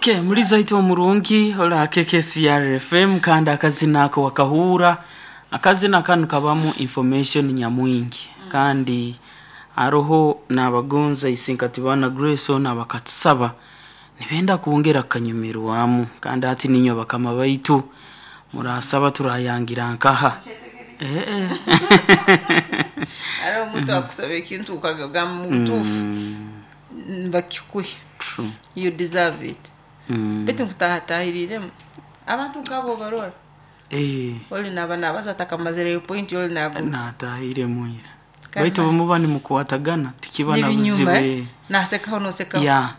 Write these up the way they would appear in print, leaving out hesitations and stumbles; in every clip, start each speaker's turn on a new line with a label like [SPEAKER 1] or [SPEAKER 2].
[SPEAKER 1] Okay, muliza itu omurungi ola KKCR FM kandi akazina ako wakahura. Akazina kanu kabamu information nyamwingi kandi aroho n'abagonza Isinkatibana Grace ona bakatusaba nibenda kwongera kukanyumirwamu, kandi ati ninywe bakama baitu murasaba turayangira nkaha.
[SPEAKER 2] Ari omuntu akusaba ekintu ukagamba mubutuufu bakikuhe.
[SPEAKER 1] True.
[SPEAKER 2] You deserve it. Baitu nkutahataahiriremu abantu nkabo barora. Oli naba nabaza atakamazireyo point, oli naguma
[SPEAKER 1] Natahiremu ira.
[SPEAKER 2] Kandi
[SPEAKER 1] baitu bwemuba nimukwatagana tikiba na
[SPEAKER 2] n'ibinyuma
[SPEAKER 1] buzibu.
[SPEAKER 2] Nasekaho nosekaho.
[SPEAKER 1] Ya.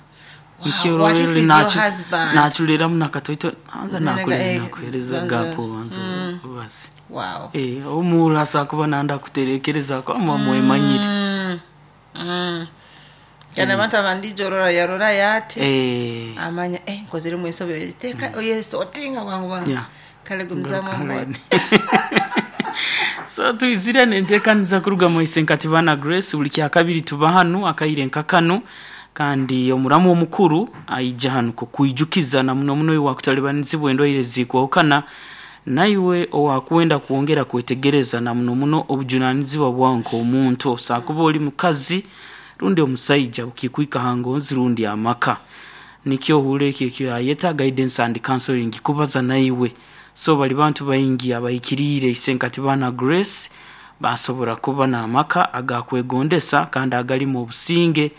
[SPEAKER 2] Wow, what if he's your husband?
[SPEAKER 1] Nachuliramu nakatoito anza.
[SPEAKER 2] Nanaga,
[SPEAKER 1] Nakule nakuhereza
[SPEAKER 2] banza.
[SPEAKER 1] gapo banza ubaze.
[SPEAKER 2] Wow.
[SPEAKER 1] Omurasa kuba nanda kuterekereza kwa mwemanyire.
[SPEAKER 2] Kandi abantu abandijo orora yarora yati amanya nkozire ensobi teka oyesotinga bwangu bwangu. Kale gumzamu
[SPEAKER 1] Karen. So twizire nentekaniza kuruga mu Isenkatibana Grace. Buli kyakabiri tuba hanu akaire nkakano, kandi omuramu omukuru aija hanu kukwijukiza na muno muno iwe wakutalibanizibwa endwaire zikwahukana, naiwe owakwenda kwongera kwetegereza na muno muno obujunanizibwa bwawe nk'omuntu, osakuba oli mukazi rundi omusaija bukikwika hangonzi rundi amaka. Nikyo ohure ekyo ekyo ayeta guidance and counseling, kubaza naiwe. So bali bantu baingi abahikiriire Isenkatibana Grace basobora kuba n'amaka agakwegondesa kandi agalimu obusinge.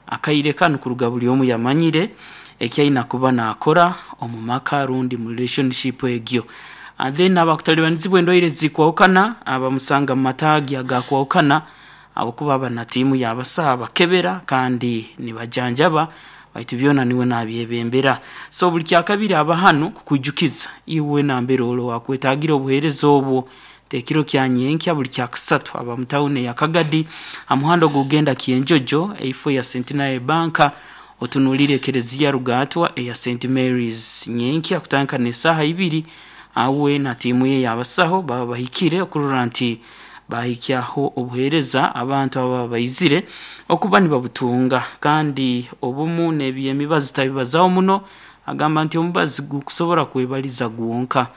[SPEAKER 1] Akaire kanu kuruga buli omu yamanyire ekyaina kuba nakora omu maka rundi mu relationship egyo. And then abakutalibanizibwa endwaire zikwahukana abamusanga mu mataagi agakwahukana, abakuba aba na tiimu y'abasaha bakebera kandi nibajanjaba, baitu byona niwe nabyebembera. So buli kyakabiri aba hanu kukwijukiza iwe nambere olo wakwetagira obuheereza obwo tekiro kya nyenkya. Buli kyakusatu aba mu tawuni ya Kagadi, amuhanda ogugenda Kyenjojo, eifo ya Centenary Bank, otunulire ekereziya Rugatwa eya St Mary's. Nyenkya kutandika n'esaaha 2 awe na tiimu ye y'abasaho baba bahikire okurora nti bahikyaho obuheereza abantu ababa baizire okuba nibabutunga. Kandi obumu n'ebyemibazi tabibazaho muno, agamba nti omubazi gukusobora kwebaliza gwonka.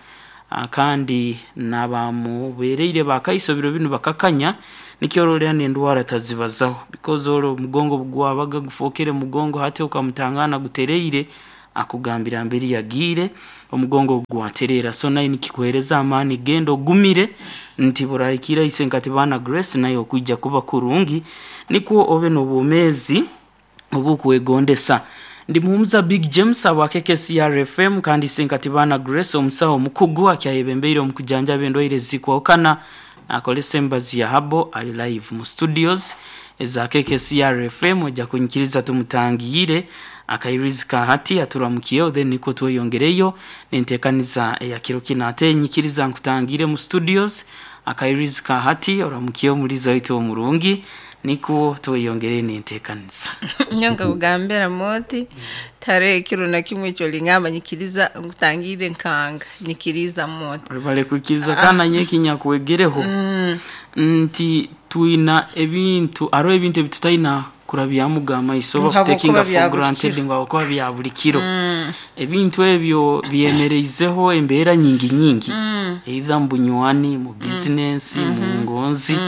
[SPEAKER 1] Kandi nabamubereire bakaiso biro binu bakakanya, nikyo ororera n'endwara tazibazaho, because oro omugongo gwabaga gufokere mugongo hati okamutangana gutereire, akugambira mberi yagiire omugongo gwaterera. So naye nikikuhereza amaani, genda ogumire nti burahikira Isenkatibana Grace naye okwijja kuba kurungi, nikwo obe n'obwomeezi obukwegondesa. Ndi muhumuza Big James aba KKCR FM kandi Isenkatibana Grace omusaho omukugu akyayebembeire omu kujanjaba endwaire zikwahukana nakolesa embazi ya habo ali live mu studios eza KKCR FM. Ojja kunyikiriza tumutangiyire akairizi ka hati aturamukiyeho, then niko tweyongereyo nentekaniza eya kiro kino. Ate nyikiriza nkutangire mu studios akairizi ka hati, oramukiyeho muliza waitu omurungi, niko tweyongere nentekaniza.
[SPEAKER 2] Nyonka kugambira moti tare ekiro na kimwe ekyo lingamba nyikiriza nkutangire nkanga nyikiriza moti.
[SPEAKER 1] Bale kwikiriza kana nyekinyakwegereho nti twina ebintu, hariho ebintu ebitutaina kurabyamu amaiso oba
[SPEAKER 2] Nka
[SPEAKER 1] kutekinga
[SPEAKER 2] bwokuba bya
[SPEAKER 1] for
[SPEAKER 2] buli
[SPEAKER 1] granted
[SPEAKER 2] kiro.
[SPEAKER 1] ngu habwokuba bya buli kiro. Ebintu ebyo byemereizeho embeera nyingi nyingi, either mu bunywani, mu bizinensi, mu ngonzi.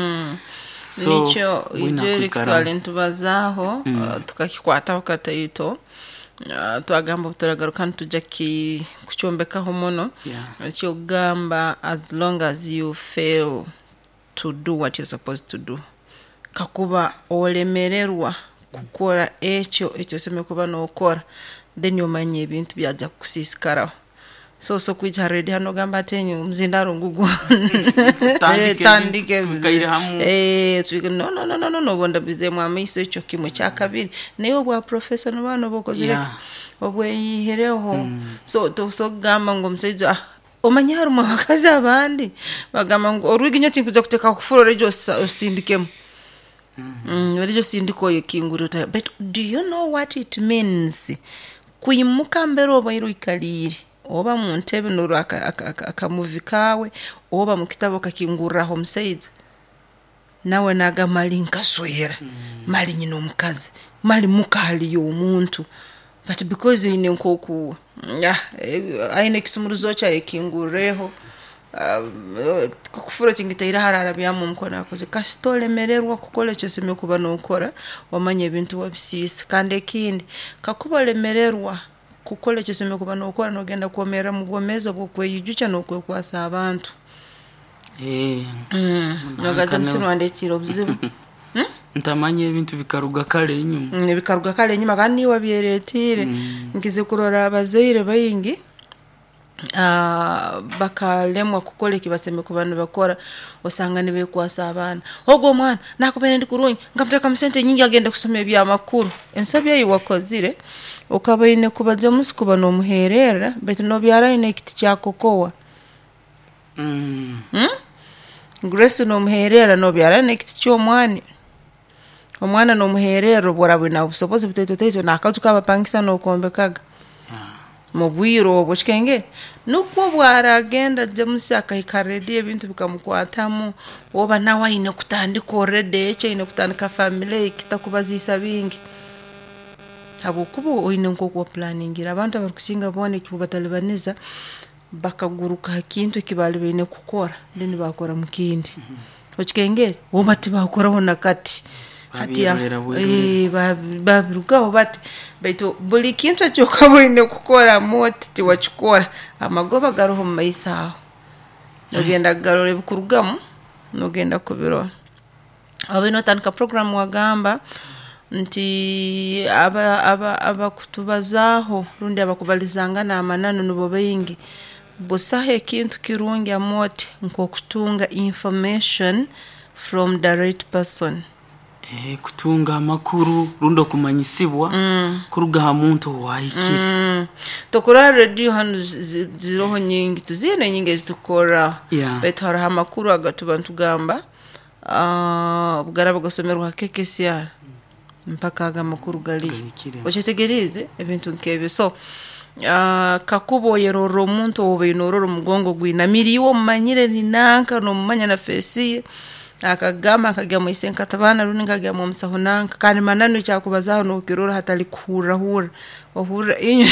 [SPEAKER 1] So
[SPEAKER 2] nikyo
[SPEAKER 1] bwina
[SPEAKER 2] ijeri
[SPEAKER 1] kwikaramu.
[SPEAKER 2] kitwale ntubazaaho, tukakikwataho kataito, twagamba obuturagaruka nitujja kukyombekaho muno. Ekyokugamba, as long as you fail to do what you're supposed to do, kakuba olemererwa kukora ekyo ekyosemere kuba nokora, then omanya ebintu byajya kukusiisikaraho. So so kwija ha radio hano ogamba ati enyo omuzindaro ngugwo.
[SPEAKER 1] Tandike
[SPEAKER 2] Tandike.
[SPEAKER 1] ebintu, twikaire hamu.
[SPEAKER 2] No, no, no, no, no, no, ndabizemu amaiso. Ekyo kimwe kyakabiri, naye obwa professor noba noba okozire ki? Obweyihireho. So tosobola kugamba ngu omusaija, omanye harimu abakazi abandi bagamba ngu orwigi nyo tinkuza kuteeka kufuro rejo osindikemu. Rejo osindika oyo kinguriro. But do you know what it means kwimuka mbere obaire oikaliire oba mu ntebe norwa akamuvi kawe oba mu kitabo okakingurraho omusaija, nawe naga mali nkaswera, mali nyina omukazi, mali muka haliyo omuntu. But because oine nk'oku aine ekisumuruzo kye ayekingurreho, kufuro kingitaire hara arabyamu omukono akoze. Kasita olemererwa kukora eki osemeriire kuba nookora, omanye ebintu wabisiisa. Kandi ekindi, kakuba olemererwa kukora eki osemeriire kuba nookora, noogenda kwomeera mu bwomeezi obw'okweijukya n'okwekwasa abantu. Nogamba
[SPEAKER 1] Nanka
[SPEAKER 2] James wandetiire obuzibu.
[SPEAKER 1] Ntamanya ebintu bikaruga kare enyuma.
[SPEAKER 2] Bikaruga kare enyuma kandi niiwe wabyeretiire. Nkizire kurora abazaire baingi bakalemwa kukora eki basemeriire kuba nibakora, osanga nibeekwasa abaana. Ogu omwana naakubaire ndi kurungi, nkamuteekamu sente nyingi agende kusoma eby'amakuru. Ensobi ei wakozire, okaba oine kuba James kuba noomuheererra baitu noobyarayo n'ekiti kya kokowa. Grace noomuheererra noobyarayo n'ekiti ky'omwani. Omwana noomuheererra obu oraaba oine obusobozi butaito taito n'akaju k'abapangisa nookombekaga. Mu bwire obu okikengere? Nukwo obu araagenda James akahika ready ebintu bikamukwatamu, oba nawe aine kutandika already eki aine kutandika family ye kitakubaziisa bingi. Habwokuba oine nk'oku wapulaningire. Abantu abarukusinga boona ekikubatalibaniza, bakaguruka ha kintu eki baali baine kukora, then baakora mu kindi. Okikengere? Oba tibaakoraho na kati. Hati
[SPEAKER 1] Babyerorera bwerorera.
[SPEAKER 2] Babirugaho bati, baitu buli kintu eki okaba oine kukora oti tiwakikora, amagoba garoho mumaiso aho. Nogenda kugarora ebikurugamu, nogenda kubirora. Obaire nootandika program wagamba nti abakutubazaaho rundi abakubalizangana amananu nubo baingi. Busaho ekintu kirungi Amooti nk'okutunga information from the right person.
[SPEAKER 1] Kutunga amakuru rundi okumanyisibwa kuruga ha muntu owaahikire.
[SPEAKER 2] Tokurora rediyo hanu ziroho nyingi, tuziine nyingi ezitukukorraho. Baitu haroho amakuru agatuba nitugamba, obu garaaba gasomerwe ha KKCR, mpaka ago amakuru galiyo.
[SPEAKER 1] Gahikire.
[SPEAKER 2] Okyetegeriize? Ebintu nk'ebyo. So kakuba oyerorra omuntu ou obaire noorora omugongo gwinamiire, iwe omumanyire ni nanka, noomumanya na face ye, akakugamba nkagya mwa isenkatabaana rundi nkagya mw'omusaho nanka, kandi mananu eki akubazaaho nookirora hatali kuhurra hurra. Ohurra inywe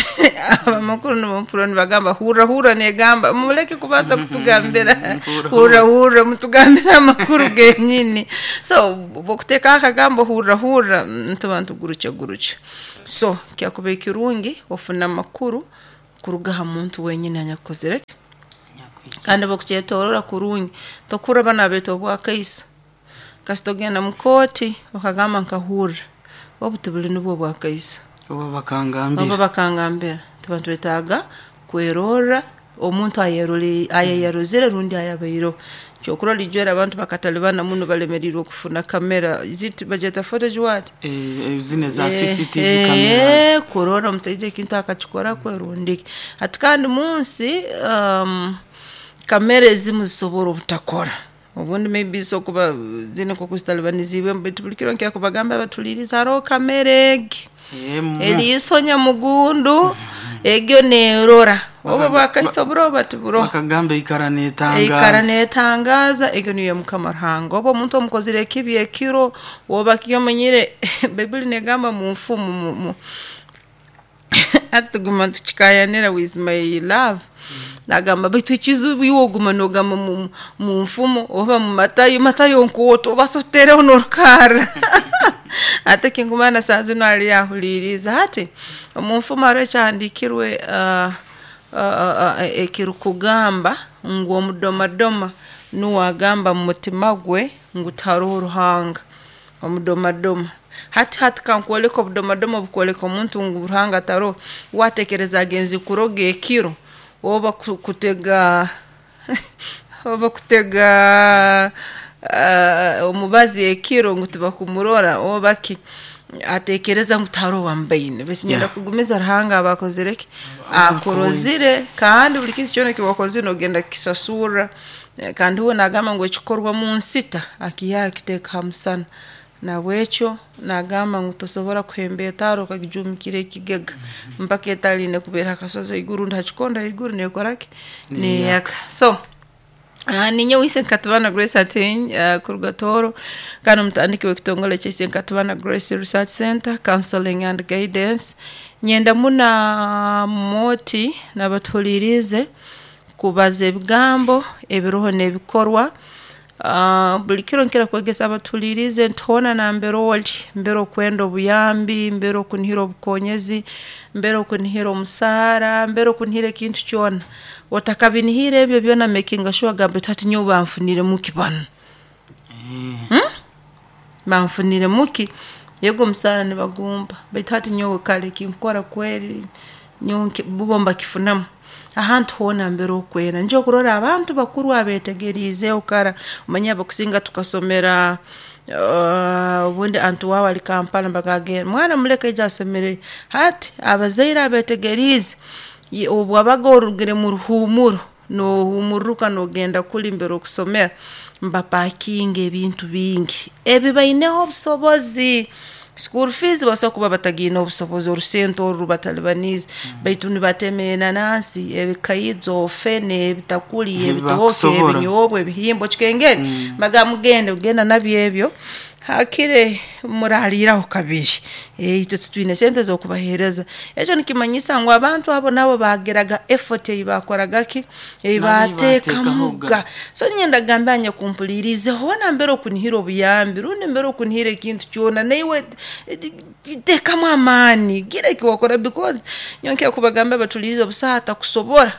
[SPEAKER 2] ab'amakuru nubo mpurra nibagamba hurra hurra neegamba, muleke kubanza kutugambira hurra hurra, mutugambire amakuru genyini. So obu okuteekaho akagambo hurra hurra, nituba nitugurukyagurukya. So kyakubaire kirungi ofune amakuru kuruga ha muntu wenyini anyakukozire ki? Kandi obu okukyetoroora kurungi, tokuhurra banu abeeta obwakaiso. Kasita ogenda mu kooti okagamba nkahurra, obu tibuli nubwo bwakaiso.
[SPEAKER 1] Oba
[SPEAKER 2] Oba
[SPEAKER 1] bakangambira.
[SPEAKER 2] Bakangambira. Tuba nitwetaaga kwerorra omuntu ayeyarozire rundi ayabaireho. Ekyokurorra ijweri abantu bakatalibana muno balemeriirwe kufuna kamera, is it bagyeta footage what?
[SPEAKER 1] Zinu eza CCTV cameras.
[SPEAKER 2] Kurora omusaija ekintu akakikora kwe rundi ki. Hati kandi munsi, kamera ezimu zisobora obutakora. Obundi maybe zisobora kuba ziine nk'oku zitalibaniziibwemu baitu buli kiro nkira kubagamba abatuhuliiriza haroho kamera egi.
[SPEAKER 1] Emu.
[SPEAKER 2] Eriiso nyamugundu, egyo neerora. Obu bwakaiso buroho oba tiburoho.
[SPEAKER 1] Bakagamba ikara
[SPEAKER 2] Eikara
[SPEAKER 1] neetangaza.
[SPEAKER 2] Neetangaaza, egyo niyo Mukama Ruhanga. Obu omuntu omukozire ekibi ekiro, oba ki omanyire Baibuli neegamba mu nfumu hati tuguma nitukikaayanira with my love. Nagamba baitu ekizibu iwe oguma noogamba mu nfumu oba mu Matayo, Matayo nkooto obaasa otuteereho n'orukarra. Ate kinkumanya na saaha zinu aliyo ahuliiriize. Hati omu nfumu haroho ekyahandiikirwe ekirukugamba ngu omudomadoma nuwe agamba mu mutima gwe ngu tiharoho Ruhanga. Omudomadoma. Hati kankwoleke obudomadoma obukwoleka omuntu ngu Ruhanga taroho. Watekereza agenzi kuroga ekiro oba kutega omubazi ekiro ngu tibakumurora oba ki, atekereza ngu tiharoho owambaine. Baitu nyenda kugumiza Ruhanga aba akozire ki? Akurozire kandi buli kintu kyona eki wakozire noogenda kukisasurra. Kandi uwe naagamba ngu ekikorwa mu nsita akiihaho akiteeka ha musana. Nahabwekyo naagamba ngu tosobora kuhemba etaara okagijuumikira ekigega, mpaka etaara eine kuba eri ha kasozi haiguru rundi ha kikondo haiguru neekora ki? Neeyaka. So. Ninyowe Isenkatibana Grace Ateny kuruga Tooro, kandi omutandiki w'ekitongole kya Isenkatibana Grace Research Center Counseling and Guidance. Nyenda muna Moti n'abatuhuliirize kubaza ebigambo ebiroho n'ebikorwa. Buli kiro nkira kwegesa abatuhuliirize nti hoona nambere ori, mbere okwenda obuyambi, mbere okunihira obukonyezi, mbere okunihira omusaara, mbere okunihira ekintu kyona, otakabinihire ebyo byona makinga sure gamba oti hati nyowe banfuniremu ki banu? Banfuniremu ki? Ego omusaara nibagumpa baitu hati nyowe kare ekinkukora kweri nyowe bo mbakifunamu. Ahantu hoona mbere okwenda, nikyo okurora abantu bakuru abeetegeriizeho kara, omanyire abakusinga tukasomera obundi anti waawe ali Kampala nibagamba mwana muleke aije asomereyo. Hati abazaire abeetegeriize, obu wabaga orugire muruhuumuro, noohuumururuka noogenda kuli mbere okusomera, mbapaakinga ebintu bingi ebi baineho obusobozi. School fees basobola kuba batagiineho obusobozi, orusente oru rubatalibaniize, baitu nibatema enanaasi, ebikaijo, fene, ebitakuli, ebitooke,
[SPEAKER 1] Ebibakusobora.
[SPEAKER 2] ebinyoobwa, ebihimba, okikengere? Mbagamba mugende, genda nabyo ebyo, haakire muraaliiraho kabiri, itwe titwine sente z'okubaheereza. Ekyo nikimanyisa ngu abantu abo nabo baagiraga effort ei baakoraga ki? Ei
[SPEAKER 1] Nabo ei
[SPEAKER 2] baateekamuga.
[SPEAKER 1] baateekahoga.
[SPEAKER 2] So niinyenda kugamba anyakumpuliriize, hoona mbere okunihira obuyambi rundi mbere okunihira ekintu kyona, naiwe teekamu amaani, gira eki wakora because nyowe nkira kubagambira abatuhuliirize busaho atakusobora.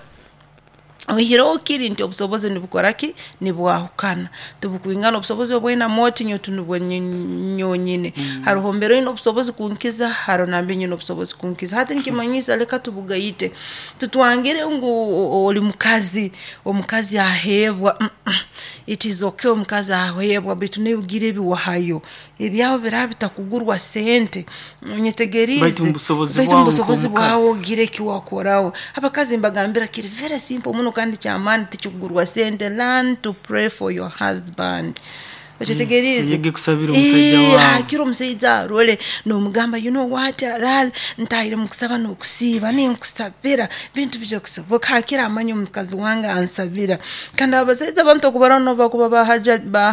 [SPEAKER 2] Oihireho kiri nti obusobozi nibukora ki? Nibwahukana, tibukwingana obusobozi obu oine Moti nyowe tinubwo nyowe nyine. Haroho mbere oine obusobozi kunkiza, haroho nambere nyine obusobozi kunkiza. Hati nikimanyisa leka tubugaite, tutwangire ngu oli mukazi, omukazi aheebwa, it is okay omukazi aheebwa baitu naiwe gira ebi wahayo. Ebyawe biraaba bitakugurwa sente, onyetegeriize,
[SPEAKER 1] Baitu mubusobozi
[SPEAKER 2] baitu
[SPEAKER 1] bwawe
[SPEAKER 2] mubusobozi bwawe
[SPEAKER 1] nk'omukazi.
[SPEAKER 2] ogira eki wakoraho. Abakazi mbagambira kiri very simple muno kandi ky'amaani tikikugurwa sente, learn to pray for your husband. Okyetegeriize?
[SPEAKER 1] Oyege kusabira omusaija waawe.
[SPEAKER 2] Hakire omusaija arole noomugamba you know what araale ntaahire mukusaba n'okusiiba ninkusabira bintu bijya kusoboka, hakire amanye omukazi wange ansabira. Kandi abasaija abantu okubaroora n'obu bakuba ba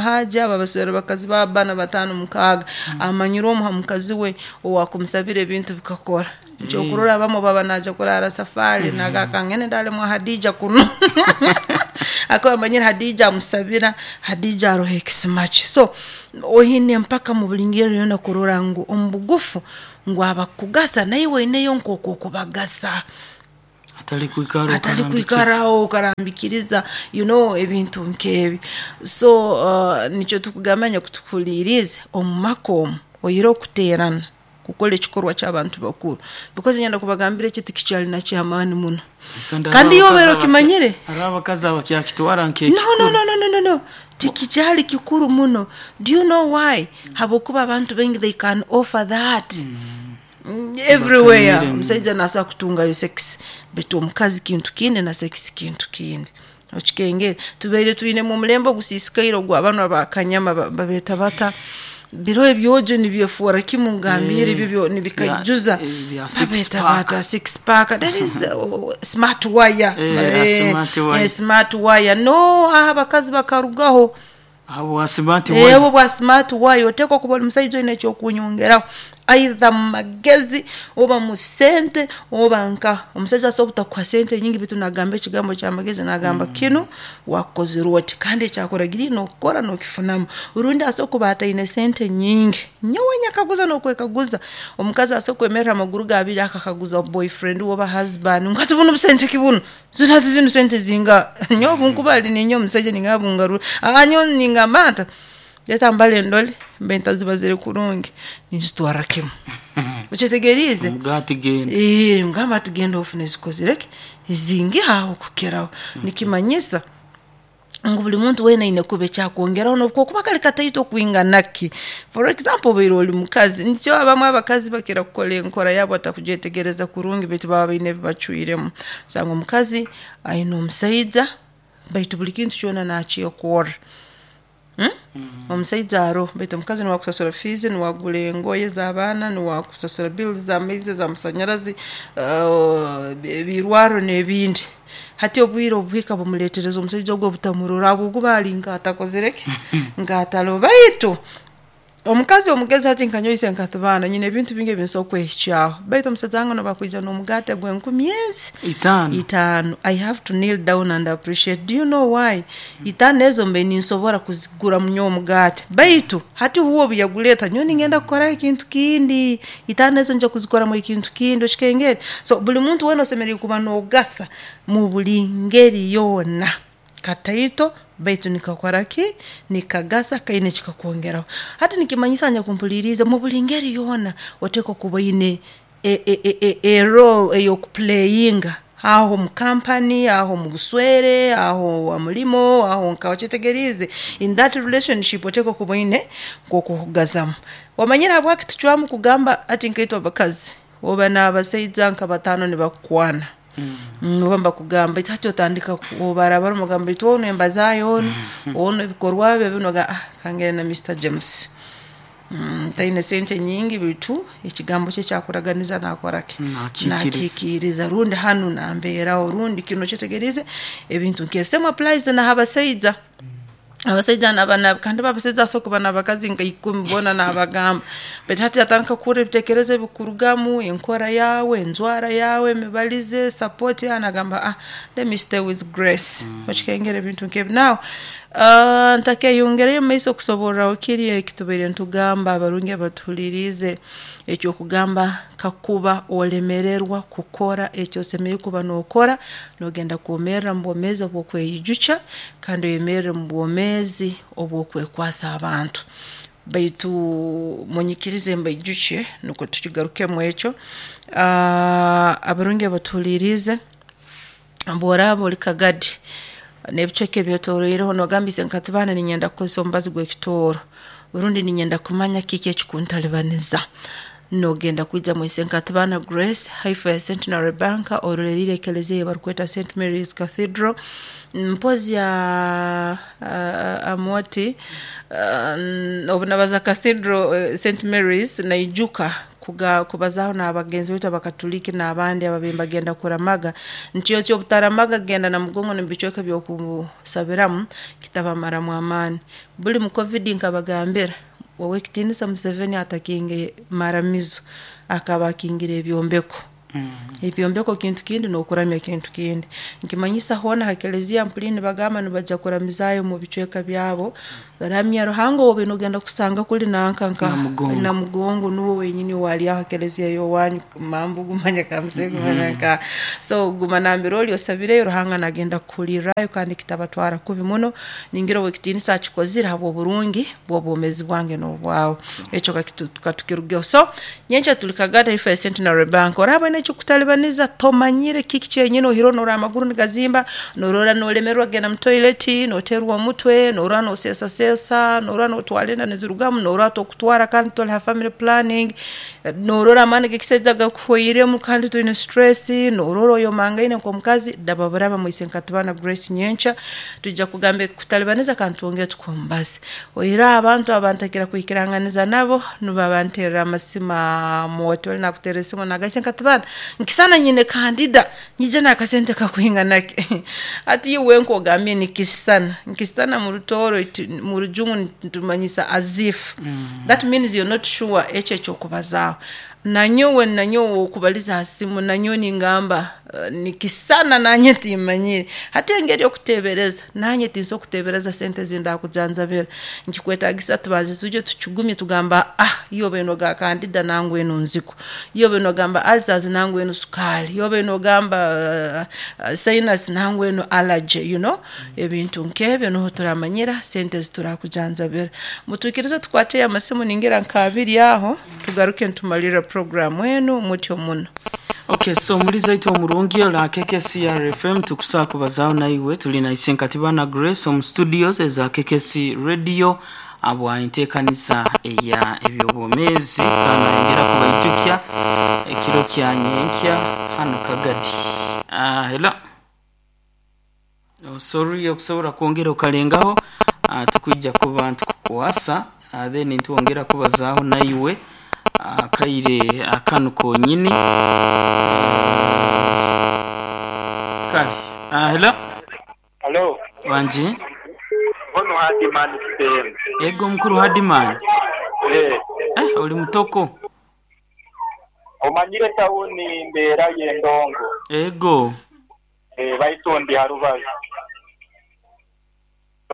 [SPEAKER 2] haji abo abaswera bakazi baabo bbana, bataano, mukaaga, amanyire omu ha mukazi we owaakumusabira ebintu bikakora. Nikyo okurora abamu obu aba naija kuraara safaari naagamba kangende ndaale mwa Hadija kunu habwokuba amanyire Hadija amusabira, Hadija aroho ekisima kye. So oine mpaka mu buli ngeri yoona kurora ngu omu bugufu ngu abakugasa naiwe oineyo nkooku okubagasa.
[SPEAKER 1] Hatali kwikara
[SPEAKER 2] Hatali
[SPEAKER 1] okarambikiriza.
[SPEAKER 2] kwikaraho okarambikiriza you know ebintu nk'ebi. So nikyo tukugamba nyakutuhuliiriize, omu maka omu oihireho kuteerana, kukora ekikorwa ky'abantu bakuru because niinyenda kubagambira eki tikikyali na ky'amaani muno.
[SPEAKER 1] Kandi
[SPEAKER 2] Kandi
[SPEAKER 1] hariho
[SPEAKER 2] iwe obaire
[SPEAKER 1] abakazi
[SPEAKER 2] okimanyire?
[SPEAKER 1] hariho abakazi abakyakitwara
[SPEAKER 2] No,
[SPEAKER 1] nk'ekikuru.
[SPEAKER 2] no, no, no, no, no, no. Tikikyali kikuru muno. Do you know why? Habwokuba abantu baingi they can offer that. Everywhere.
[SPEAKER 1] Bakanyire.
[SPEAKER 2] Omusaija naasobora kutungayo sex, baitu omukazi kintu kindi na sex kintu kindi. Okikengere? Tubaire twinemu omulembe ogusiisikaire ogw'abanu abakanyama babeeta bata? Biroho ebyojo nibyefoora kimu ngambire ebyo nibikaijuza.
[SPEAKER 1] Bya six
[SPEAKER 2] Babeeta
[SPEAKER 1] pack.
[SPEAKER 2] bata six pack. That is smart wire.
[SPEAKER 1] Smart wire.
[SPEAKER 2] Smart wire. No, aho abakazi bakarugaho.
[SPEAKER 1] Abo smart wire.
[SPEAKER 2] Obu bwa smart wire oteekwa kuba oli musaija oine eky'okunyongeraho, either mu magezi oba mu sente oba nkaha. Omusaija asobola obutakuha sente nyingi baitu naagamba ekigambo ky'amagezi naagamba kinu wakukozire oti kandi eki akuragiriire nookukora nookifunamu. Rundi asobola kuba ataine sente nyingi, nyowe nyekaguza n'okwekaguza, omukazi asobola kwemerra ha maguru ge abiri akakaguza boyfriend we oba husband ngu hati bunu busente ki bunu? Zinu hati zinu sente zingaha? Nyowe obu nkuba ali ninyowe omusaija ningamba bungarurre, nyowe ningamba nti leta mbale ndole mbe ntazibazire kurungi, ninzitwarra kimu. Okyetegeriize?
[SPEAKER 1] Omugaati genda.
[SPEAKER 2] Ngamba ati genda ofune ezikozire ki? Ezingiha aho kukiraho. Nikimanyisa ngu buli muntu weena aine kuba ekyakwongeraho n'obu kokuba kali kataito kwingana ki. For example obaire oli mukazi, nikyo abamu abakazi bakira kukora enkora yabo batakugyetegereza kurungi baitu baba baine ebi bacwiremu. Osanga omukazi aine omusaija baitu buli kintu kyona naakyekorra. Omusaija aroho baitu omukazi niwe akusasura fees, niwe agura engoye z'abaana, niwe akusasura bills z'amaizi, ez'amasanyarazi, ebirwarro n'ebindi. Hati obwire obuhika bumuleetereza omusaija ogu obutamurora habwokuba ali nk'atakozere ki, nk'ataloho. Baitu omukazi omugezi hati nka nyowe isenkatibaana nyine ebintu bingi ebi nsobora kwehikyaho, baitu omusaija wange n'obu akwija n'omugaate gw'enkumi ezi
[SPEAKER 1] Itaano.
[SPEAKER 2] itaano, I have to kneel down and appreciate. Do you know why? Itaano ezo mbaire ninsobora kuziguramu nyowe omugaate, baitu hati huwe obu yaguleeta nyowe ningenda kukoraho ekintu kindi, itaano ezo nyija kuzikoramu ekintu kindi, okikengere? So buli muntu weena osemeriire kuba noogasa mu buli ngeri yoona, kataito baitu nikakora ki, nikagasa kaine eki kakwongeraho. Hati nikimanyisa anyakumpuliriize mu buli ngeri yoona oteekwa kuba oine e role ey'okupuleyinga aho mu kampani, aho mu buswere, aho ha mulimo, aho nkaha okyetegeriize? In that relationship oteekwa kuba oine nk'oku okugazaamu. Omanyire habwaki tucwamu kugamba hati nkaitwe abakazi, oba n'abasaija nka bataano nibakukwana, oba nibakugamba baitu hati otandika obarabaramu nogamba baitu onu embaza ye onu, onu ebikorwa bye binu, nogamba kangende na Mister James, taine sente nyingi baitu ekigambo kye eki akuraganiza naakora ki,
[SPEAKER 1] Nakihikiiriza.
[SPEAKER 2] Nakihikiiriza, rundi hanu nambeeraho, rundi kinu okyetegeriize, ebintu nk'ebi. Same applies na ha basaija, abasaija kandi bo abasaija basobora kuba n'abakazi nka ikumi boona naabagamba, baitu hati atandika kuhurra ebiteekerezo ebikurugamu, enkora yaawe, enjwara yaawe, emibalize, support yaawe, nagamba let me stay with Grace, okikengera ebintu nk'ebi. Now ntakeyongereyo mumaiso kusoborraho kiri eki tubaire nitugamba abarungi abatuhuliriize, eky'okugamba kakuba olemererwa kukora eki osemeriire kuba nookora, noogenda kwomerra mu bwomeezi obw'okweyijukya kandi oyemerre mu bwomeezi obw'okwekwasa abantu. Baitu munyikirize mbaijukye nukwo tukigarukemu ekyo, abarungi abatuhuliiriize, obu oraaba ori Kagadi n'ebicweka ebyetoroireho noogamba isenkatibaana niinyenda kukozesa omubazi gw'ekitooro rundi niinyenda kumanya kiki ekikuntalibaniza, noogenda kwija mu Isenkatibaana Grace haifi ya Centenary Bank oroleriire ekelezia ei barukweta St Mary's Cathedral, mpozi Amooti obu nabaza Cathedral St Mary's naijuka kubazaaho n'abagenzi baitu abakatuliki n'abandi ababaire nibagenda kuramaga, nti eki obutaramaga kugenda Namugongo n'omu bicweka eby'okusabiramu kitabamaramu amaani. Buli mu Covid nkabagambira, ow'ekitiinisa Museveni atakinge maramizo, akaba akingire ebyombeko. Ebyombeko kintu kindi n'okuramya kintu kindi. Nikimanyisa hoona ha kelezia mpuliire nibagamba nibaija kuramizaayo mu bicweka byabo, ramya Ruhanga ou obaire noogenda kusanga kuli nanka nka
[SPEAKER 1] Namugongo.
[SPEAKER 2] Namugongo nuwe wenyini owaali aho ha kelezia y'owanyu Mambugu manya Kamusege manya nkaha. So guma nambere oli osabireyo Ruhanga naagenda kukuhulirrayo kandi kitabatwara kubi muno, ningira ow'ekitiinisa akikozire habw'oburungi bw'obwomeezi bwange n'obwawe. Ekyo katukirugeho. So nyenkya tuli Kagadi haifi ya Centenary Bank, oraaba oine ekikutalibaniza tomanyire kiki kyenyini oihireho norora amaguru nigazimba, norora nolemererwa kugenda mu toilet, nooterwa omutwe, norora nooseesaseesa, norora nootwara enda nizirugamu, norora tokutwara kandi toli ha family planning, norora amaani g'ekisaija gakuhoiremu kandi toine stress, norora oyomangaine nk'omukazi, raba buraba mu Isenkatibaana Grace nyenkya, twija kugamba ebikutalibaniza kandi twongere tukuhe omubazi. Oihireho abantu abantakira kwikiranganiza nabo, nubo abanterra amasimu Amooti oli naakuterra esimu nagamba Isenkatibaana nkisana nyine kandida, nyije n'akasente kakwingana ki? Hati iwe wenka ogambire nikisisana, nikisisana mu Rutooro mu Rujungu nitumanyisa as if, that means you're not sure eki eky'okubazaaho. Nanyowe nanyowe ow'okubaliza ha simu nanyowe ningamba nikisisana nanye timmanyire. Hati engeri y'okuteebereza, nanye tinsobora kuteebereza sente ezi ndakujanjabira, nikikwetaagisa tubanze twije tukigumye tugamba iwe obaire nogamba kandida nangwa enu nzigu, iwe obaire nogamba ulcers nangwa enu sukaari, iwe obaire nogamba sinus nangwa enu allergy, you know, ebintu nk'ebyo nuho turamanyira sente ezi turakujanjabira. Mutwikirize tukwateyo amasimu ningira nk'abiri aho, tugaruke nitumalirra puroguraamu enu mutyo muno.
[SPEAKER 1] Okay, so omulizi aitu omurungi ora KKC RFM tukusaa kubazaaho naiwe tuli na Isenkatibana Grace omu studios eza KKC Radio abwa enteekaniza eya eby'obwomeezi kandi nayongera kubaijukya ekiro kya nyenkya hanu Kagadi. Hello. Oh, sorry okusobora kwongera okalengaho tukwija kuba nitukukwasa then nitwongera kubazaaho naiwe akaire akanu konyini. Kale. Wangi?
[SPEAKER 3] Ono Hardman Kisembe.
[SPEAKER 1] Ego mukulu Hardman.
[SPEAKER 3] Eh.
[SPEAKER 1] Eh, oli mutoko.
[SPEAKER 3] Omanyire tawuni mbeera ye Ndongo.
[SPEAKER 1] Ego.
[SPEAKER 3] Eh, baitu ndi harubazu.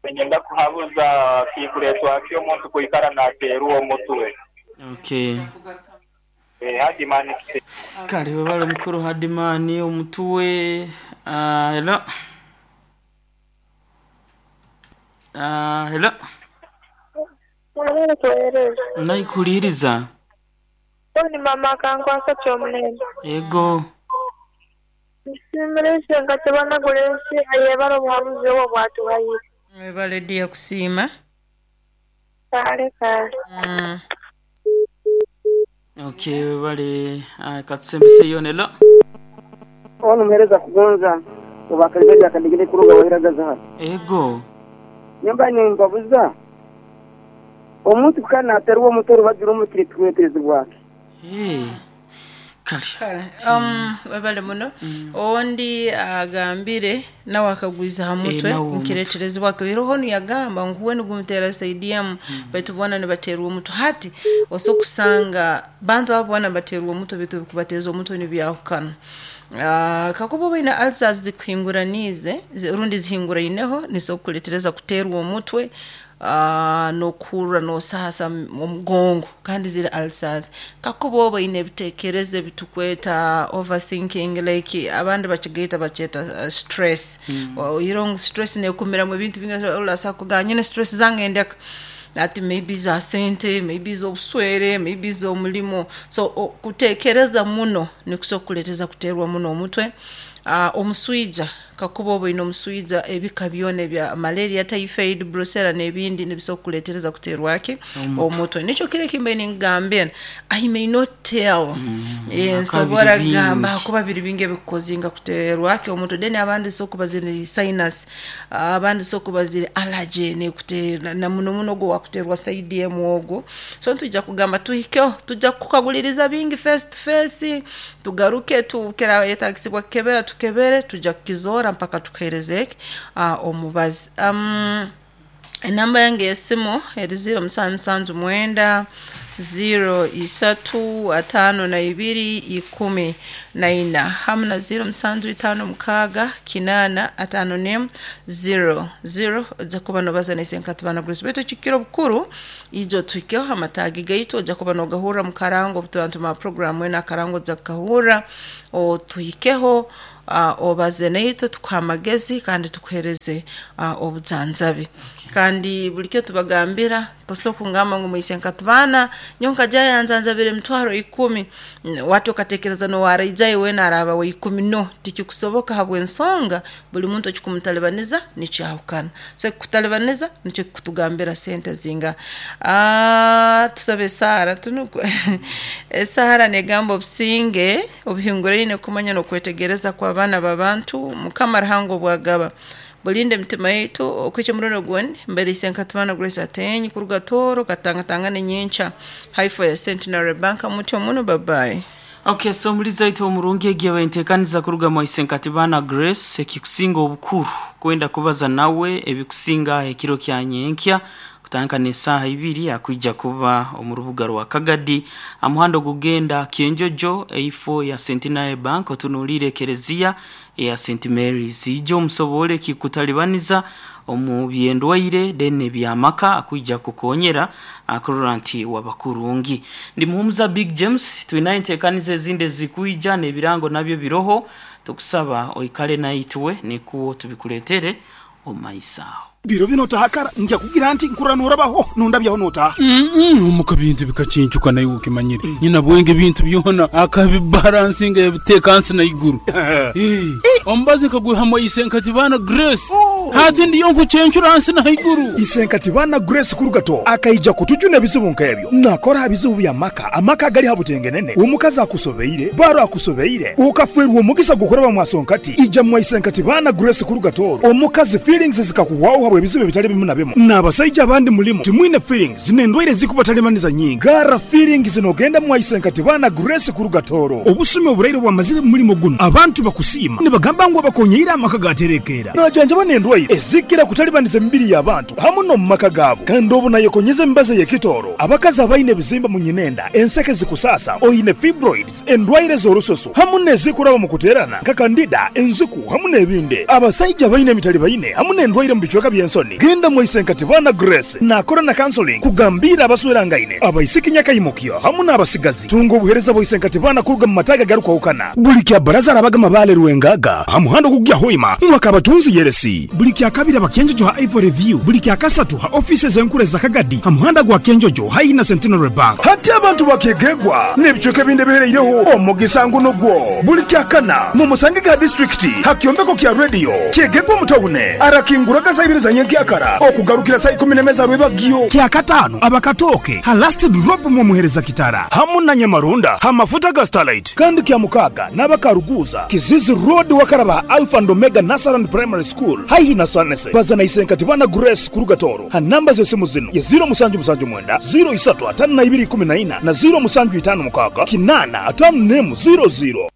[SPEAKER 3] Niinyenda kuhabuza kikureetwa ki omuntu kwikara naateerwa omutwe.
[SPEAKER 1] Okay.
[SPEAKER 3] Eh, Hardman Kisembe.
[SPEAKER 1] Kale webale mukulu Hardman omutwe. Hello. Hello.
[SPEAKER 4] Mwebale kuweereza.
[SPEAKER 1] Naikuliiriza.
[SPEAKER 4] Oni mama akankwasa Kyomunene.
[SPEAKER 1] Ego.
[SPEAKER 4] Nsiimire Isenkati bana Grace ayebare obuhabuzi obwo obwatuhaire.
[SPEAKER 2] Webale dia kusiima.
[SPEAKER 4] Kale kale.
[SPEAKER 1] Okay, webale. Katusembeseyo hello.
[SPEAKER 5] Ono muhereza kugonza obakaligaji akadegede kuruga wahiragaza hano.
[SPEAKER 1] Ego.
[SPEAKER 5] Nyumba nimbabuza omuntu kana aterwa omutwe orubazi rumwe kirituweterezibwake.
[SPEAKER 1] Hey. Kale.
[SPEAKER 2] Kale, webale muno. Ondi agambire nawe akagwiza ha mutwe
[SPEAKER 1] Nawe omutwe.
[SPEAKER 2] nkireterezibwake iroho yagamba ngu we nigumutera saidiamu baitu bona nibaterwa omutwe hati oso kusanga bantu abo bona baterwa omutwe baitu bikubateeza omutwe nibyahukana. Kakuba obaine ulcers zikuhinguraniize rundi zihinguraineho nizo kukuletereza kuterwa omutwe, n'okuhurra n'osaasa omugongo kandi ziri ulcers. Kakuba oba oine ebiteekerezo ebitukweta overthinking like abandi bakigaita bakyeta stress. Oihireho ngu stress neekumiramu ebintu bingi olasobola kugamba nyine stress zange ndeka ati maybe za sente, maybe z'obuswere, maybe z'omulimo. So kuteekereza muno nikusobola kukuleeteza kuteerwa muno omutwe. Omuswija kakuba oba oine omuswija ebika byona ebya malaria, typhoid, brucella n'ebindi nibisobola kukuleetereza kuteerwa ki omutwe. Nikyo kiro eki mbaire ninkugambira I may not tell. Nsobora
[SPEAKER 1] Biri
[SPEAKER 2] kugamba
[SPEAKER 1] bingi.
[SPEAKER 2] kuba biri bingi ebikukozinga kuteerwa ki omutwe. Then abandi so kuba ziri sinus, abandi so kuba ziri allergy nekutera na muno muno ogwo wakuteerwa side emu ogwo. So nitwija kugamba tuhikeho, tujja kukaguliriza bingi face to face, tugaruke tukera yetagisibwa kukebera tukebere, tujja kukizoora mpaka tukuheereze omubazi. Enamba yange y'esimu eri 0779 03 52 14 hamu na 0756 8 51 00 ojja kuba nobaza na Isenkati bana Grace. Baitu ekikiro obukuru ijo tuhikeho amataagi gaitu ojja kuba nogahurra mu karango obu tuba programu enu akarango ojja kukahurra otuhikeho, obaze naitwe tukuhe amagezi kandi tukuhereze obujanjabi. Kandi buli kyo tubagambira tosobola kungamba ngu Isenkati bana nyowe nkajyayo yanjanjabire emitwaro 10 wati okatekereza nowaraijayo weena araaba wa 10 no tikikusoboka habw'ensonga buli muntu ekikumutalibaniza nikyahukana. So ekikutalibaniza nikyo kikutugambira sente zinga. Tusabe esaara tunuku esaara negamba obusinge obuhinguraine kumanya n'okwetegereza kw'abaana b'abantu Mukama Ruhanga obwagaba bulinde emitima yaitu okwikya omurundi ogundi mbaire Isenkati bana Grace Atenyi kuruga Tooro katangatangane nyenkya haifo ya Centenary Bank mutyo muno bye bye.
[SPEAKER 1] Okay, so muliza ito omurungi egiye baintekaniza kuruga mu Isenkati bana Grace ekikusinga obukuru kwenda kubaza nawe ebikusinga ekiro kya nyenkya kutandika n'esaaha ibiri akwija kuba omu rubuga rwa Kagadi amuhando gugenda Kyenjojo eifo ya Centenary Bank otunuulire ekereziya ya St Mary's ijo omusobole kikutalibaniza omu byendwaire then ebyamaka akwija kukonyera akurora nti wabakurungi. Ndi muhumuza Big James twinaye enteekaniza ezindi ezikuija n'ebirango nabyo biroho tukusaba oikale naitwe nikuwo tubikuletere omumaiso aho.
[SPEAKER 6] Biro bino otahakara nja kugira nti nkurra norabaho nondabyaho notaha.
[SPEAKER 7] Omuka bintu bikacincuka naye ukimanyire nyina bwenge bintu byona akabibalansinga yabiteeka nsi na iguru. Omubazi nkagwihamu Isenkati bana Grace. Hati ndiyo nkucencura nsi na iguru.
[SPEAKER 6] Isenkati bana Grace kurugato akaija kutujuna ebizibu nk'ebyo nakora bizibu bya maka amaka gali habutengenene omukazi akusobeire baro akusobeire ukafwerwa omugisa gukoraba mwasonkati ija mwa Isenkati bana Grace kurugato omukazi feelings zikakuwaho habwe ebizibu ebitali bimu na bimu n'abasajja abandi mulimu timwine feelings n'endwaire zikubatalibaniza nyingi gara feelings nogenda mwa Isenkati bana Grace kurugatoro obusumi oburaire bwamazire mu mulimo guno abantu bakusiima nibagamba. Nagamba ngu abakonyeire amaka gaterekeera. Najanjaba n'endwaire ezikira kutalibaniza emibiri y'abantu hamu n'omu maka gaabo. Kandi obu nayekonyeza emibazi ey'ekitooro, abakazi abaine ebizimba mu nyinenda, enseke zikusaasa, oine fibroids, endwaire z'orususu hamu n'ezikuraba mu kuteerana nka kandida, enziku hamu n'ebindi. Abasaija abaine emitalibaine hamu n'endwaire mu bicweka by'ensoni, genda mwaise Nkatibana Grace naakora na counseling kugambiira abaswerangaine, abaisiki nyakaimukyo hamu n'abasigazi. Tunga obuheereza bwa Isenkatibana kuruga mu mataagi agarukwahukana. Buli kya Baraza arabaga Mabaale Rwengaga ha muhanda ogukugya Hoima Mwakabatunzi Yeresi. Buli kya Kabiri aba Kyenjojo ha Ivory View. Buli kya Kasatu ha ofiisi ez'enkuru eza Kagadi ha muhanda gwa Kyenjojo haihi na Centenary Bank. Hati abantu ba Kyegegwa n'ebicweka ebindi ebihereireho omugisa ngu nugwo. Buli kya Kana mumusangege ha disiturikiti ha kyombeko kya Radio Kyegegwa omu tawune. Arakinguraga saa ibiri za nyenkyakara okugarukira saa ikumi n'emwe za rwebagyo. Kya Kataano aba Katooke ha Last Drop mw'omuhereza Kitara hamu na Nyamarunda ha mafuta ga Starlite. Kandi kya Mukaaga n'aba Karuguuza, Kizizi Road wakaraba ha Alpha and Omega Nursery and Primary School haihi na Sanese. Baza na Isenkatibana Grace kuruga Tooro ha namba z'esimu zinu ye ziro musanju musanju mwenda, ziro isatu atano na ibiri ikumi na ina na ziro musanju itano mukaaga, kinaana atano n'emu ziro ziro.